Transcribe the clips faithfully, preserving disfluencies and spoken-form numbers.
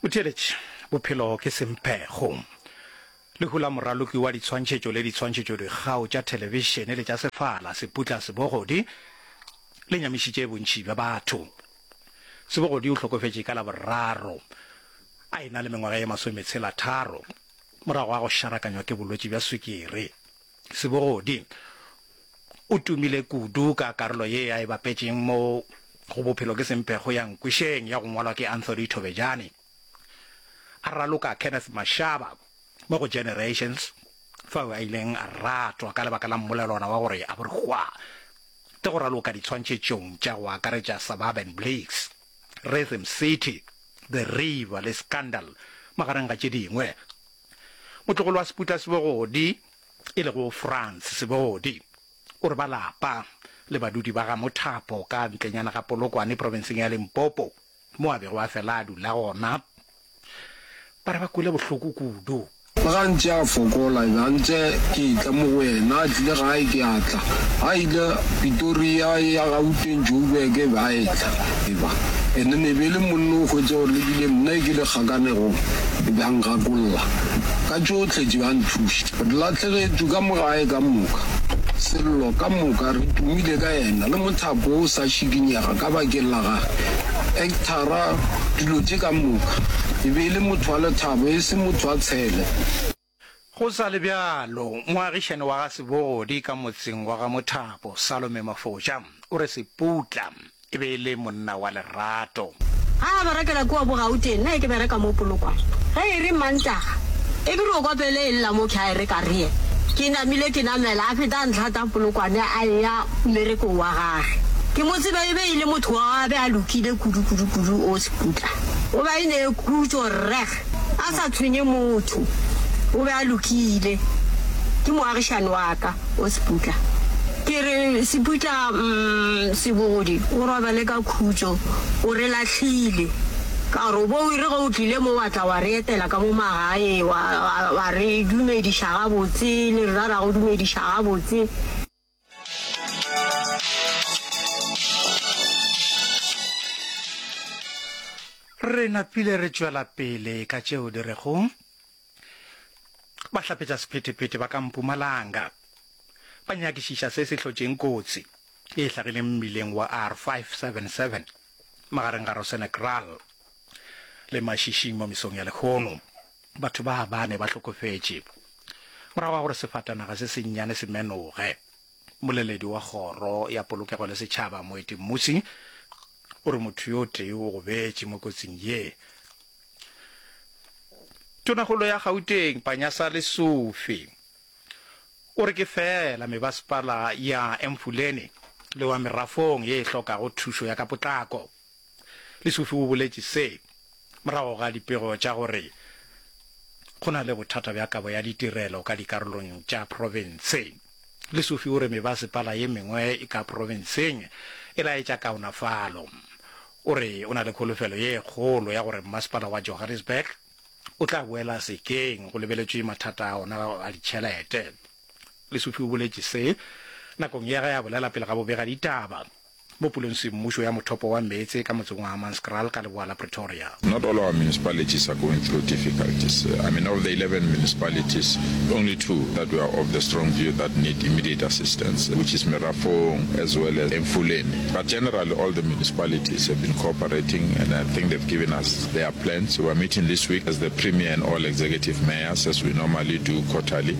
Motheeletši, bophelo ke semphego. Lehu la moraloki wa ditshwantšhetšo le ditshwantšhetšodikgao tša thelebišene le tša sefala, Seputla Sebogodi, le nyamišitše bontši bja batho. Sebogodi o hlokofetše ka Laboraro a e-na le mengwaga ye masometshela tharo morago ga go šarakanywa ke bolwetši bja swikiri. Sebogodi o tumile kudu ka karolo ye a e bapetšeng mo go Bophelo ke Semphego ya Nkwešeng ya go ngwalwa ke Anthony Thobejane, a raloka Kenneth Mashaba mo go Generations, fao a ileng a ratwa ka lebaka la mmolelwana wa gore a bo re hwa le go raloka ditshwantšhetšong tša go akaretša Suburban Blakes, Rhythm City, The River le Scandal, magareng ga tše dingwe. Motlogolo wa Seputla Sebogodi, e lego Frans Sebogodi, o re ba lapa le badudi ba ga Mothapo ka ntlenyana ga Polokwane profenseng ya Limpopo, mo a bego a fela a dula gona, ba re ba kwele bohloko kudu. Le ga ntše a fokola, e be a ntše ke etla mo go yena, a tlile gae ke a tla, a ile Pitoria, e ya Gauteng, Joburg, e be a etla, e ba. And then e be e le monna o hwetše gore le bile nna e ke le kgakanegong, e be a ngakolla ka tšohle tše, a nthuša. Re lahlegetšwe ka mo gae ka moka, sello ka moka, re tumile ka yena, le mothapo o sa šikinyega ka bakeng la gage, actora, dilo tše ka moka. E be e le motho wa lethabo, e se motho wa tshele. Go sa le bjalo, moagišani wa ga Sebogodi ka motseng wa ga Mothapo, Salome Mafotša, o re Seputla e be e le monna wa lerato. Ga a berekela kua bo Gauteng, nna e ke bereka mo Polokwane. Ge e re Mantaga, e ke re o kopele e lla mo ke a e re ka re ke namile ke namela, a feta a ntlhata Polokwane a eya mmerekong wa gage. Ke mo tseba e be e le motho wa a be a lokile kudu kudu kudu o Seputla. O be a e ne khutšo rreg a sa tshwenye motho. O be a lokile. Ke moagišani wa ka o Seputla. Ke re Seputla mm Sebogodi o robale ka khutšo o re lahlile. Ka gore o bo o ire ge o tlile mo wa tla wa re etela ka mo magae wa wa wa re dumediša gabotse le rena ra go dumediša gabotse. Re napile re tšwela pele ka tšeo di rego Bahlapetšasephethephethe ba ka Mpumalanga ba nyakišiša se se hlotšeng kotsi ye e hlagileng mmileng wa R five seven seven magareng ga Rosenekraal le Mashishing mo mesong ya lehono. Batho ba bane ba hlokofetše morago ga gore sefatanaga se sennyane se menoge. Mmoleledi wa Kgoro ya Polokego le Setšhaba, Moeti Mmusi, o re motho yo tee o gobetše mo kotsing ye. Tonakgolo ya Gauteng, Panyaza Lesufi, o re ke feela mebasepala ya Emfuleni le wa Merafong ye e hlokago thušo ya ka potlako. Lesufi o boletše se morago ga dipego tša gore go na le bothata bja kabo ya ditirelo ka dikarolong tša profense. Lesufi o re mebasepala ye mengwe ka profenseng e laetša kaonafalo. O re o na le kholofelo ye kgolo ya gore mmasepala wa Johannesburg o tla boela sekeng go lebeletšwe mathata a ona a ditšhelete. Lesufi o boletše se nakong ya ge a bolela pele ga bobegaditaba mo pulong semmušo ya mothopo wa meetse ka motseng wa Hammanskraal ka leboa la Pretoria. Not all our municipalities are going through difficulties. I mean, of the eleven municipalities, only two that we are of the strong view that need immediate assistance, which is Merafong as well as Emfuleni. But generally, all the municipalities have been cooperating, and I think they've given us their plans. We are meeting this week as the Premier and all executive mayors, as we normally do quarterly,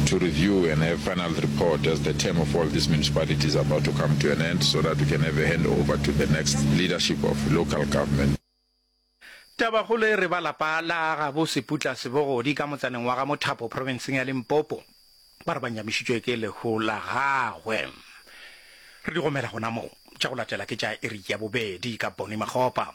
to review and have final report as the term of all these municipalities are about to come to an end, so that we can have a handover to the next leadership of local government. Tabakgolo e re ba lapa la gabo Seputla Sebogodi ka motsaneng wa ga Mothapo profenseng ya Limpopo ba re ba nyamišitšwe ke lehu la gagwe. Re di gomela gona mo. Tša go latela ke tša iri ya bobedi ka Bonnie Makgopa.